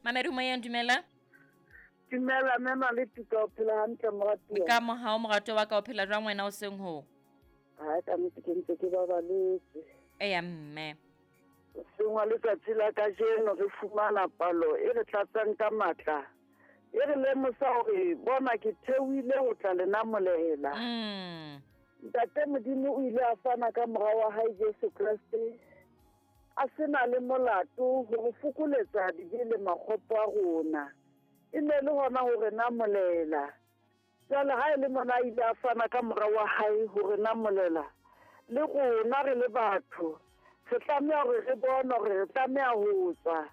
Mamedi moyeng, dumela. Dumela mme Maletuka, o phela hantle moratuwa? Ka mohao moratuwa wa ka, o phela jwang wena o seng ho? Ha ka nnete ke ntse ke babaletse. Eya mme. Hoseng wa letsatsi la kajeno re fumana palo e re tlatsang ka matla, e re lemosa hore bona ke theohile ho tla le namolela. Ntate Modimo o ile a fana ka mora wa hae Jesu Kreste a se na le molato ho re fokoletsa dibe le makgopo a rona. E ne le hona ho re namolela. Jwale ha e le mona a ile a fana ka mora wa hae ho re namolela, le rona re le batho re tlameha hore re bone hore re tlameha ho tswa.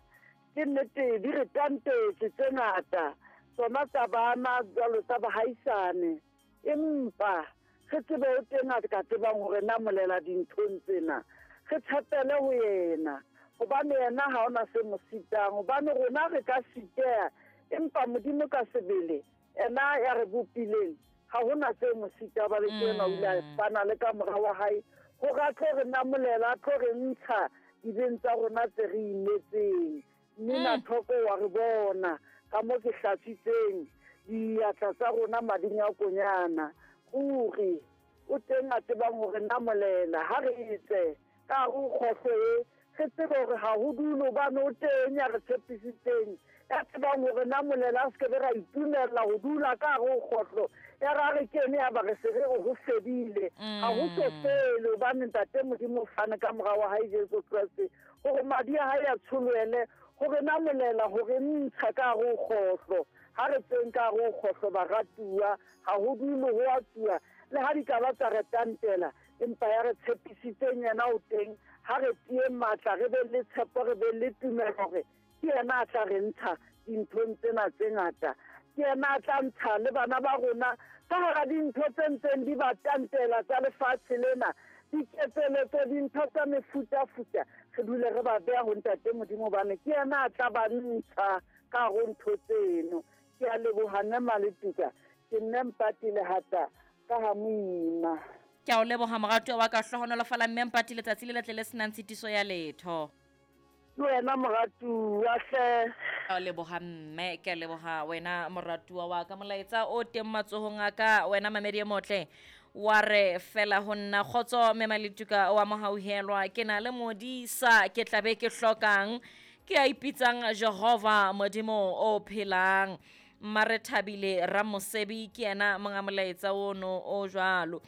Ke nnete di re tantetse tse ngata, tsona tsa bana jwalo tsa bahaisane, empa re tsebe o teng a ka tsebang ho re namolela dinthong tsena. Re tshepele ho yena, hobane yena ha ona se mo sitang, hobane rona re ka siteha, empa Modimo ka sebele ena ya re bopileng ha hona se mo sita. Ba le tsena o ile a fana le ka mora wa hae hore a tlo re namolela, a tlo re ntsha dibeng tsa rona tse re imetseng. Mme thoko wa re bona ka mo ke hlatswitseng diatla tsa rona mading a konyana. Ruri o teng a tsebang hore namolela. Ha re etse ka hare ho kgohlo e, re tsebe hore ha ho dule, hobane o teng ya re tshepisitseng, ya tsebang hore namolela. A se ke be ra itumella ho dula ka hare ho kgohlo, ya ra re kene ya ba re se re ho fedile. Ha ho so fele, hobane Ntate Modimo o fane ka mora wa hae Jesu Kreste hore madi a hae a tsholohele hore namolela, hore ntsha ka hare ho kgohlo. Ha re tseng ka hare ho kgohlo baratuwa, ha ho dule ho a tsuwa, le ha di ka ba tsa re tantela, empa ya re tshepisitseng yena o teng. Ha re tie matla, re be le tshepo, re be le tumelo hore ke yena a tla re ntsha dinthong tsena tse ngata. Ke yena a tla ntsha le bana ba rona ka hara dintho tse ntseng di ba tantela tsa lefatshe lena, diketseletso, dintho tsa mefutafuta. Re dule re ba beha ho Ntate Modimo, hobane ke yena a tla ba ntsha ka hare ho ntho tseno. Ke a leboha mme Maletuka, ke nne Mpati Lehata ka ha Moima. Ke a o leboha moratuwa wa ka, hlohonolofala mme Mpati, letsatsi le letle le senang tshitiso ya letho. Le wena moratuwa hle. Ke a leboha mme, ke a leboha wena moratuwa wa ka. Molaetsa o teng matsohong a ka wena mamedi e motle, wa re fela ho nna kgotso mme Maletuka wa mohauhelwa, ke na le modisa ke tla be ke hlokang, ke a ipitsang Jehova Modimo o phelang. Mma re thabile Ramosebi ke yena monga molaetsa ono o jwalo.